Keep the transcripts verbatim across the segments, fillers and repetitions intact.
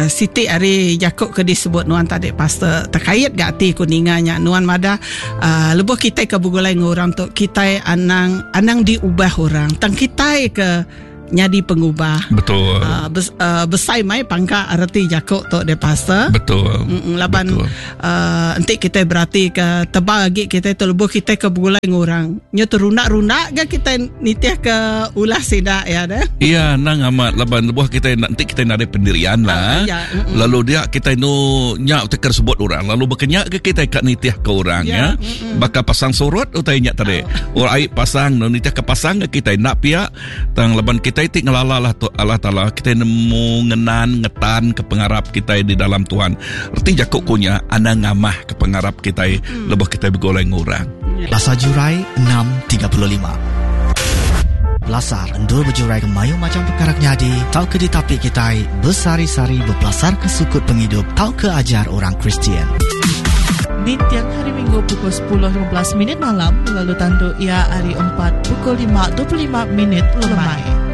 Uh, siti ari jaku ke disebut nuan tadi pastor terkait gak ati ku ninga nya nuan madah uh, lebuh kita ke begulai dengan orang tu kita anang anang diubah orang tang kita ke nyadi pengubah. Betul. Uh, bes, uh, besai mai pangka arti jaku tu de pastor. Betul. Mm-mm, laban Betul. Uh, enti kita berarti ke tebal lagi kita tu lebuh kita ke begulai dengan orang. Nya terundak-rundak ke kita nitih ke ulah sidak ya deh. Iya, nang amat laban lebuh kita nanti kita ada pendirian lah. Uh, ya, mm-mm. Lalu dia kita nu nyak teker sebut orang, lalu berkenyak ke kita kat nitih ke orang ya. ya. Mm-mm. Bakal pasang surut utai nyak tadi. Oh. Orang air pasang nu nitih ke pasang ke kita nak pihak tang laban kita ti ngelala lah tu Allah Taala kita nemu ngenan ngetan ke pengarap kita di dalam Tuhan. Erti jakuk kunya anda ngamah ke pengarap kita hmm. lebih kita begoleng orang. Pasar Jurai enam tiga puluh lima. Pelasar endur berjurai ke mayu macam perkara nyadi tau ke ditapi kita bersari-sari berpelasar ke sukut penghidup tau ke ajar orang Kristian. Di tiang hari Minggu pukul sepuluh lima belas minit malam lalu tandu ia hari empat pukul lima dua puluh lima minit lemai.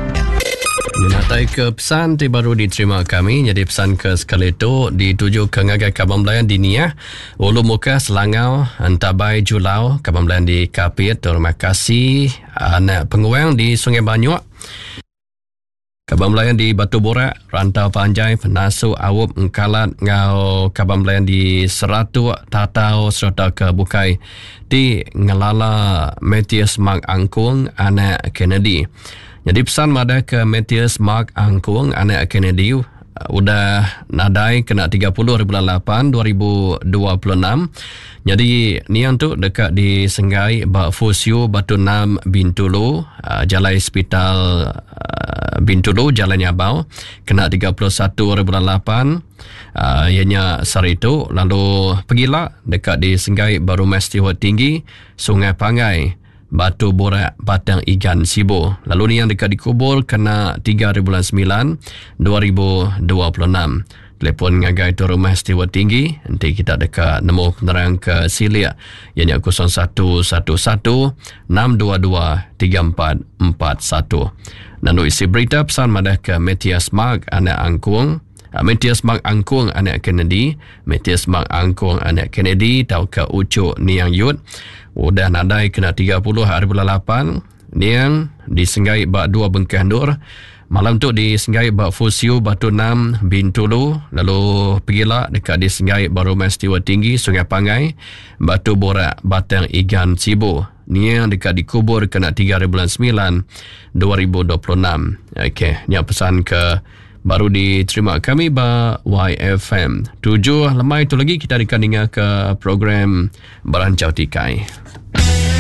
Menatai ke pesan ti baru diterima kami jadi pesan ke sekali itu dituju ke ngagai Kabang Belayan di Niah, Ulu Muka, Selangau, Entabai, Julau, Kabang Belayan di Kapit, terima kasih anak penguang di Sungai Banyuk, Kabang Belayan di Batu Borak, Rantau Panjai, Penasu, Awup, Engkalat, ngau Kabang Belayan di Seratuk, Tatau serta ke Bukai di Ngelala Matthias Mark Angkung, anak Kennedy. Jadi pesan madah ke Matthias Mark Angkung, anak Kennedy, udah nadai kena tiga puluh bulan lapan dua ribu dua puluh enam. Jadi niang tu dekat di Senggai ba Fusio Batu Enam Bintulu, Jalai Hospital Bintulu Jalan Nyabau kena tiga puluh satu bulan lapan uh, ianya sehari itu. Lalu pergilah dekat di Senggai ba Rumah Stewart Tinggi Sungai Pangai Batu Borak Batang Igan Sibu. Lalu ni yang dekat dikubur kena tiga bulan sembilan dua ribu dua puluh enam. Telefon ngagai tu Rumah Stewart Tinggi nanti kita dekat nemu penerang ke Silia ianya kosong satu satu satu enam dua dua tiga empat empat satu. Lalu isi berita pesan madah ke Matthias Mark anak Angkung, Matthias Mark Angkung anak Kennedy, Matthias Mark Angkung anak Kennedy tau ke Ucuk Niang Yut udah nadai kena tiga puluh hari bulan lapan Niang disenggai bak dua bengkah nur. Malam tu disenggai bak Fusio Batu Enam Bintulu, lalu pergilah dekat disenggai baru Rumah Stewart Tinggi Sungai Pangai Batu Borak Batang Igan Sibu. Niang dekat dikubur kena tiga hari bulan sembilan dua ribu dua puluh enam. Okey, ni pesan ke baru diterima kami ba Y F M. Tujuh lemai tu lagi kita akan dengar ke program Berancau Tikai.